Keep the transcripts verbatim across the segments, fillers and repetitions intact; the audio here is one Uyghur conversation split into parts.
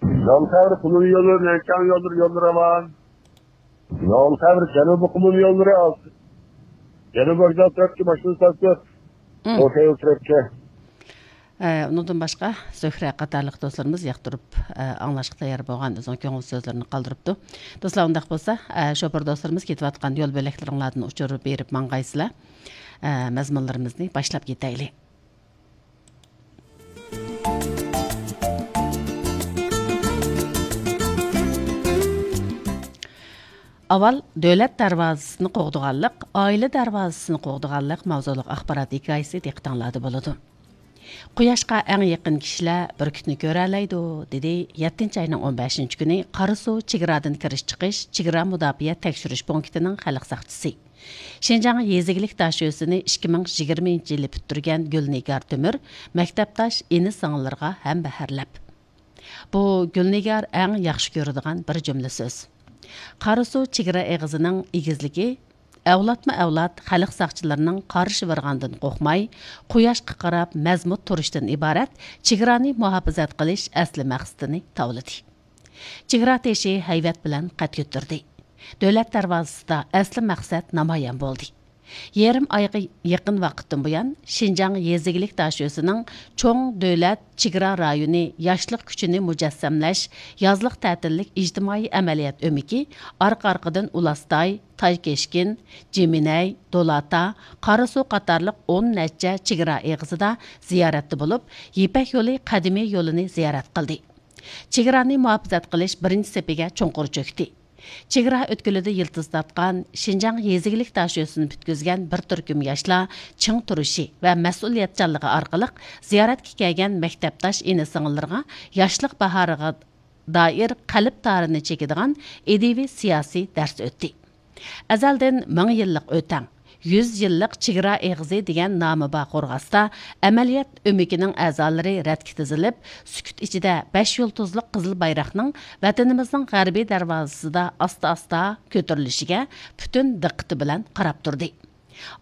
يول تەۋر قۇمۇل يولى، نەنچاڭ يوللىرى، يوللىرى راۋان. يول تەۋر جەنۇبىي قۇمۇل يوللىرى ئاز. جەنۇبىي ۋوگزال تەرەپكە ماشىنا ساتىپ، مم. ئوتەيول تەرەپكە. ئە، ئۇنىڭدىن باشقا، زۆھرە قاتارلىق دوستلىرىمىز ياقتۇرۇپ، ئە، ئاڭلاشقا تەييار بولغان ئۆزىنىڭ كۆڭۈل سۆزلىرىنى قالدۇرۇپتۇ. دوستلار، ئۇنداق بولسا، ئە، شوپۇر دوستلىرىمىز كېتىۋاتقان يول بۆلەكلىرىڭلاردىن ئۇچۇر بېرىپ ماڭغايسىلەر. ئە، مەزمۇنلىرىمىزنى باشلاپ كېتەيلى. ئاۋۋال دۆلەت دەرۋازىسىنى قوغدىغانلىق، ئائىلە دەرۋازىسىنى قوغدىغانلىق ماۋزۇلۇق ئاخبارات ھېكايىسى دىققىتىڭلاردا بولىدۇ. قۇياشقا ئەڭ يېقىن كىشىلەر بۈركۈتنى كۆرەلەيدۇ، دېدى يەتتىنچى ئاينىڭ ئون بەشىنچى كۈنى قاراسۇ چېگرادىن كىرىش چىقىش چېگرا مۇداپىئە تەكشۈرۈش پونكىتىنىڭ خەلق ساقچىسى. شىنجاڭ يېزا ئىگىلىك داشۆسىنى ئىككى مىڭ يىگىرمىنچى يىلى پۈتتۈرگەن گۈلنىگار تۆمۈر مەكتەپداش ئىنى-سىڭىللىرىغا ھەمبەھىرلەپ، بۇ گۈلنىگار ئەڭ ياخشى كۆرىدىغان بىر جۈملە سۆز. قاراسۇ چېگرا ئېغىزىنىڭ ئېگىزلىكى ئەۋلادمۇ ئەۋلاد خەلق ساقچىلىرىنىڭ قارا شىۋىرغاندىن قورقماي، قۇياشقا قاراپ مەزمۇت تۇرۇشتىن ئىبارەت چېگرانى مۇھاپىزەت قىلىش ئەسلى مەقسىتىنى تاۋلىدى. چېگرا تېشى ھەيۋەت بىلەن قەد كۆتۈردى. دۆلەت دەرۋازىسىدا ئەسلى مەقسەت نامايان بولدى. يېرىم ئايغا يېقىن ۋاقىتتىن بۇيان، شىنجاڭ يېزا ئىگىلىك داشۆسىنىڭ چوڭ دۆلەت چېگرا رايونى ياشلىق كۈچىنى مۇجەسسەملەش يازلىق تەتىللىك ئىجتىمائىي ئەمەلىيەت ئۆمىكى ئارقا-ئارقىدىن ئۇلاستاي، تايكەشكىن، جىمىنەي، دولاتا، قاراسۇ قاتارلىق ئون نەچچە چېگرا ئېغىزىدا زىيارەتتە بولۇپ، يىپەك يولى قەدىمىي يولىنى زىيارەت قىلدى. چېگرانى مۇھاپىزەت قىلىش بىرىنچى سېپىگە چوڭقۇر چۆكتى. چېگرا ئۆتكىلىدە يىلتىز تارتقان، شىنجاڭ يېزا ئىگىلىك داشۆسىنى پۈتكۈزگەن بىر تۈركۈم ياشلار چىڭ تۇرۇشى ۋە مەسئۇلىيەتچانلىقى ئارقىلىق زىيارەتكە كەلگەن مەكتەپداش ئىنى-سىڭىللىرىغا ياشلىق باھارىغا دائىر قەلب تارىنى چېكىدىغان ئىدىيىۋى سىياسىي دەرس ئۆتتى. ئەزەلدىن مىڭ يىللىق ئۆتەڭ، يۈز يىللىق چېگرا ئېغىزى دېگەن نامى بار قورغاستا، ئەمەلىيەت ئۆمىكىنىڭ ئەزالىرى رەتكە تىزىلىپ، سۈكۈت ئىچىدە بەش يۇلتۇزلۇق قىزىل بايراقنىڭ ۋەتىنىمىزنىڭ غەربىي دەرۋازىسىدا ئاستا-ئاستا كۆتۈرۈلۈشىگە پۈتۈن دىققىتى بىلەن قاراپ تۇردى.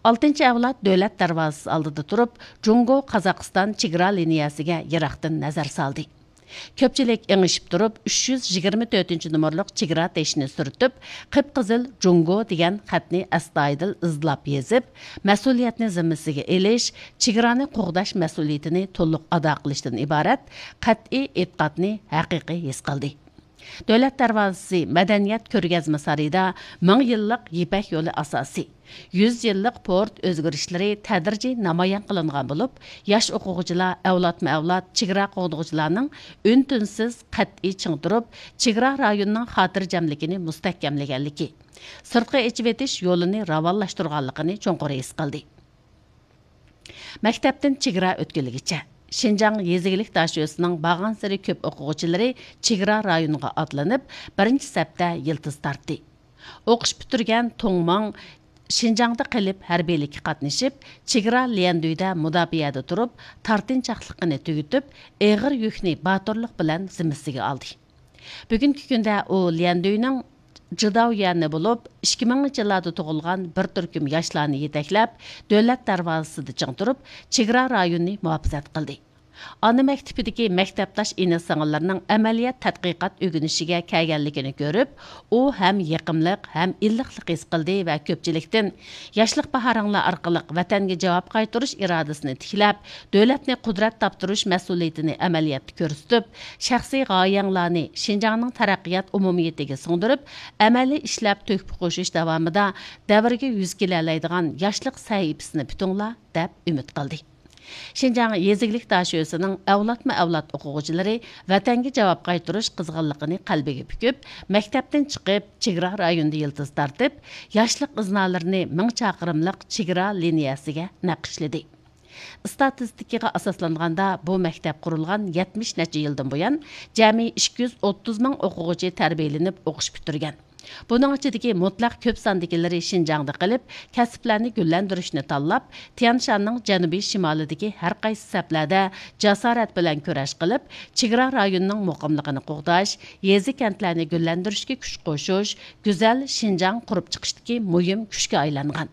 ئالتىنچى ئەۋلاد دۆلەت دەرۋازىسى ئالدىدا تۇرۇپ، جۇڭگو-قازاقىستان چېگرا لىنىيەسىگە يىراقتىن نەزەر سالدى. كۆپچىلىك ئېڭىشىپ تۇرۇپ، ئۈچ يۈز يىگىرمە تۆتىنچى نومۇرلۇق چېگرا تېشىنى سۈرتۈپ، قىپقىزىل جۇڭگو دېگەن خەتنى ئەستايىدىل ئىزدىلاپ يېزىپ، مەسئۇلىيەتنى زىممىسىگە ئېلىش، چېگرانى قوغداش مەسئۇلىيىتىنى تولۇق ئادا قىلىشتىن ئىبارەت قەتئىي ئېتىقادنى ھەقىقىي ھېس قىلدى. دۆلەت دەرۋازىسى مەدەنىيەت كۆرگەزمە سارىيىدا مىڭ يىللىق يىپەك يولى ئاساسى، يۈز يىللىق پورت ئۆزگىرىشلىرى تەدرىجىي نامايان قىلىنغان بولۇپ، ياش ئوقۇغۇچىلار ئەۋلادمۇ ئەۋلاد چېگرا قوغدىغۇچىلارنىڭ ئۈن-تىنسىز قەتئىي چىڭ تۇرۇپ، چېگرا رايونىنىڭ خاتىرجەملىكىنى مۇستەھكەملىگەنلىكى، سىرتقا ئېچىۋېتىش يولىنى راۋانلاشتۇرغانلىقىنى چوڭقۇر ھېس قىلدى. مەكتەپتىن چېگرا ئۆتكىلىگىچە، شىنجاڭ يېزا ئىگىلىك داشۆسىنىڭ بارغانسېرى كۆپ ئوقۇغۇچىلىرى چېگرا رايونىغا ئاتلىنىپ، بىرىنچى سەپتە يىلتىز تارتتى. ئوقۇش پۈتتۈرگەن تۇڭ ماڭ شىنجاڭدا قېلىپ ھەربىيلىككە قاتنىشىپ، چېگرا ليەندۈيدە مۇداپىئەدە تۇرۇپ، تارتىنچاقلىقىنى تۈگىتىپ، ئېغىر يۈكنى باتۇرلۇق بىلەن زىممىسىگە ئالدى. بۈگۈنكى كۈندە ئۇ ليەندۈينىڭ جىداۋيۈەنى بولۇپ، ئىككى مىڭىنچى يىللاردا تۇغۇلغان بىر تۈركۈم ياشلارنى يېتەكلەپ، دۆلەت دەرۋازىسىدا چىڭ تۇرۇپ، چېگرا رايونىنى مۇھاپىزەت قىلدى. ئانا مەكتىپىدىكى مەكتەپداش ئىنى-سىڭىللىرىنىڭ ئەمەلىيەت تەتقىقات ئۆگىنىشىگە كەلگەنلىكىنى كۆرۈپ، ئۇ ھەم يېقىملىق، ھەم ئىللىقلىق ھېس قىلدى ۋە كۆپچىلىكتىن، ياشلىق باھارىڭلار ئارقىلىق ۋەتەنگە جاۋاب قايتۇرۇش ئىرادىسىنى تىكلەپ، دۆلەتنى قۇدرەت تاپتۇرۇش مەسئۇلىيىتىنى ئەمەلىيەتتە كۆرسىتىپ، شەخسىي غايەڭلارنى شىنجاڭنىڭ تەرەققىيات ئومۇمىيىتىگە سىڭدۈرۈپ، ئەمەلىي ئىشلەپ تۆھپە قوشۇش داۋامىدا دەۋرگە يۈز كېلەلەيدىغان ياشلىق سەھىپىسىنى پۈتۈڭلار، دەپ ئۈمىد قىلدى. شىنجاڭ يېزا ئىگىلىك داشۆسىنىڭ ئەۋلادمۇ ئەۋلاد ئوقۇغۇچىلىرى ۋەتەنگە جاۋاب قايتۇرۇش قىزغىنلىقىنى قەلبىگە پۈكۈپ، مەكتەپتىن چىقىپ، چېگرا رايونىدا يىلتىز تارتىپ، ياشلىق ئىزنالىرىنى مىڭ چاقىرىملىق چېگرا لىنىيەسىگە نەقىشلىدى. ئىستاتىستىكىغا ئاساسلانغاندا، بۇ مەكتەپ قۇرۇلغان يەتمىش نەچچە يىلدىن بۇيان، جەمئىي ئىككى يۈز ئوتتۇز مىڭ ئوقۇغۇچى تەربىيەلىنىپ ئوقۇش پۈتتۈرگەن. بۇنىڭ ئىچىدىكى مۇتلەق كۆپ ساندىكىلىرى شىنجاڭدا قېلىپ، كەسىپلەرنى گۈللەندۈرۈشنى تاللاپ، تيەنشاننىڭ جەنۇبىي شىمالىدىكى ھەر قايسى سەپلەردە جاسارەت بىلەن كۈرەش قىلىپ، چېگرا رايونىنىڭ مۇقىملىقىنى قوغداش، يېزا-كەنتلەرنى گۈللەندۈرۈشكە كۈچ قوشۇش، گۈزەل شىنجاڭ قۇرۇپ چىقىشتىكى مۇھىم كۈچكە ئايلانغان.